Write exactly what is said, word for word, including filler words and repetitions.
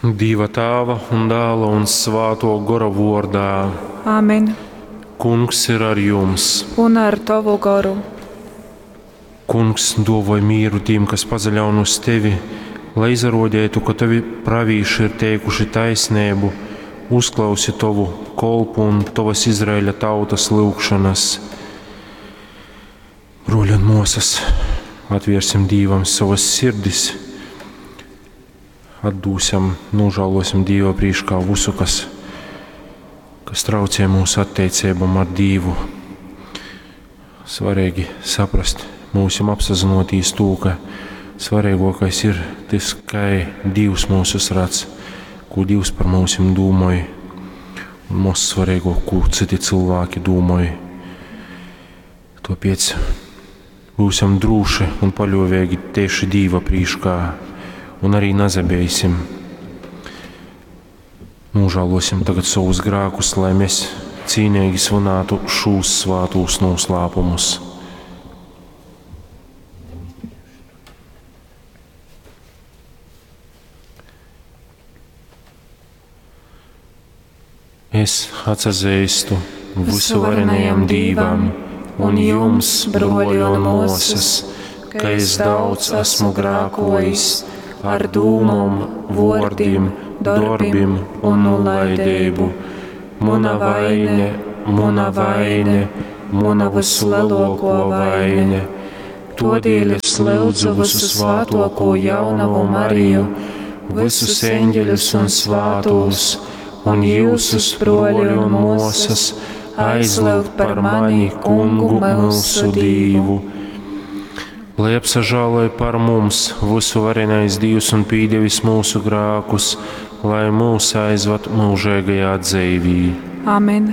Dīva Tāva un Dāla un Svātuo Gora vuordā. Āmen. Kungs ir ar jums. Un ar tovu goru. Kungs duovoj mīru tīm, kas pasaļaun uz tevi, lai izaruodeitu, ka tovi pravīši ir teikuši taisneibu, uzklausi tovu kolpu un tovas Izraeļa tautas lyugšanas. Bruoļi un muosas, atviersim Dīvam sovas sirdis, atdūsim, nožēlosim Dīva prīškā visu, kas, kas traucē mūsu attiecībām ar Dīvu. Svarīgi saprast, mūsim apsazinoties to, ka svarīgākais ir tas, kā Dievs mūsus redz, ko Dievs par mūsim domāj, un most svarīgāk, ko citi cilvēki domāj. Tāpēc būsim droši un paļāvīgi tieši Dīva prīškā, un arī nazabeisim. Nožēlosim tagad savus grēkus, lai mēs cīnīgi svinētu šos svātos noslēpumus. Es atsazīstu visuvarenajam Dīvam un jums, bruoļi un muosas, ka es daudz esmu grēkojis ar dūmom, vuordim, dorbim un nulaidību. Muna vaine, muna vaine, muna vislielāko vaine. Todēļ es lūdzu visu svātoko jaunavu Mariju, visus eņģeļus un svātos, un jūsus, bruoļi un muosas, aizlūgt par mani Kungu mūsu Dīvu. Lai apsažāloj par mums visuvarenais Dievs un pīdevis mūsu grēkus, lai mūs aizvad mūžīgajā dzīvī. Amen.